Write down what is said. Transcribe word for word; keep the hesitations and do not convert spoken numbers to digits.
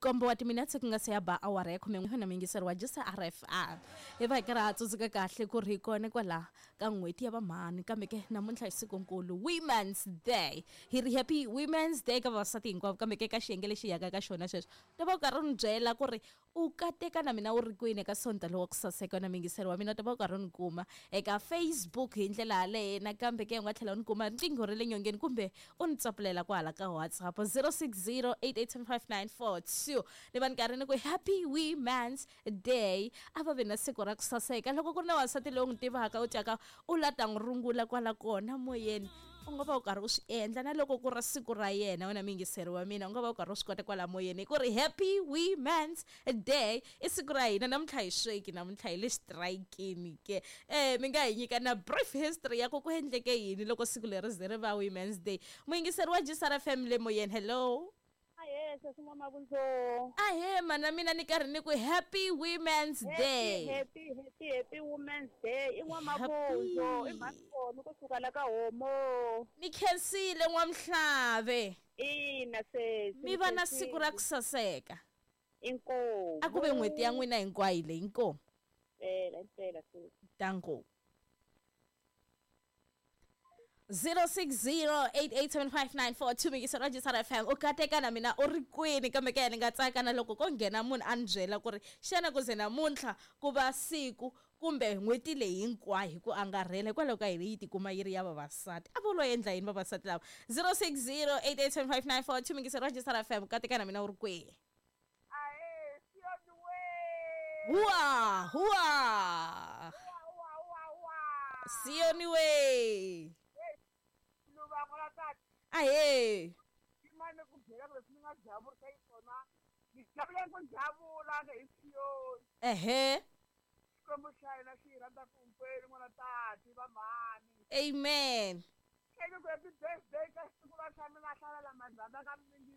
nkombo wa timinetse ku nga se ya ba awara ya khume n'we na muyingiseri wa J S R F M. Hi va hi karhi ha tsundzuka kahle ku ri hi kona kwala ka n'hweti ya vamhani, kambe ke namuntlha hi sikunkulu, Women's Day. Hi ri happy Women's Day ka vavasati hinkwavo, kambe ke ka xiyenge lexi yaka ka xona sweswo ta va u karhi u ni byela ku ri u kateka na mina u ri kwini eka Sonta lowa ku saseka. Na muyingiseri wa mina, u ta va u karhi u ni kuma eka Facebook hi ndlela yaleyo. Nakambe ke u nga tlhela u ni kuma riqingho ra le nyongeni kumbe u ni tsapulela kwahala ka WhatsApp zero six zero eight eight seven five nine four two. Ni va ni karhi ni ku happy Women's Day, a va vi na siku ra ku saseka. Loko ku ri na wansati loyi u n'wi tivaka u tyaka u la ta n'wi rungula kwala kona moyeni, u nga va u karhi u swi endla. Na loko ku ri siku ra yena, wena muyingiseri wa mina, u nga va u karhi u swi kota kwala moyeni ku ri happy Women's Day, i siku ra hina namuntlha. Hi sweki namuntlha hi le xitirayikini ke. um mi nga hi nyika na brief history ya ku ku endleke yini loko siku leri ze ri va Women's Day. Muyingiseri wa J S R F M le moyeni, hello. Ahe, sesi N'wamavundzo. Ahe, mana, mina ni karhi ni ku happy Women's Day. Happy, happy, happy Women's Day. I N'wamavundzo, i mhani kusuka la ka homo. Ni khensile, N'wamhlave. Ina, sesi. Mi va na siku ra ku saseka. Inkomu. A ku ve n'hweti ya n'wina hinkwayo leyi, inkomu. Impela, impela, sesi. Danko. zero six zero eight eight seven five nine four two, muyingiseri wa J S R F M, u kateka na mina u ri kwini? Kambe ke ni nga tsaka na loko ko nghena munhu a ni byela ku ri xana ku ze namuntlha ku va siku kumbe n'hweti leyi hinkwayo hi ku angarhela hikwalaho ka yini yi tikuma yi ri ya vavasati? A vo lo endla yini vavasati lava? zero six zero eight eight seven five nine four two, muyingiseri wa J S R F M, kateka na mina u ri kwihi? Ahe, siyoni we. Huwa huwa. Wa wa wa. Siyoni we. Luvango la tata. Ahe. Imane ku byela ku leswi ni nga javurisa yi swona. Ni javule ku javula hi siyoni. Ehe. Xikwembu xa hina xi hi rhandza ku hinkwenu, n'wana tati, va mhani. Amen. Eke ku happy birthday ka siku ra xa mina hlalela mandzandza ka mingi.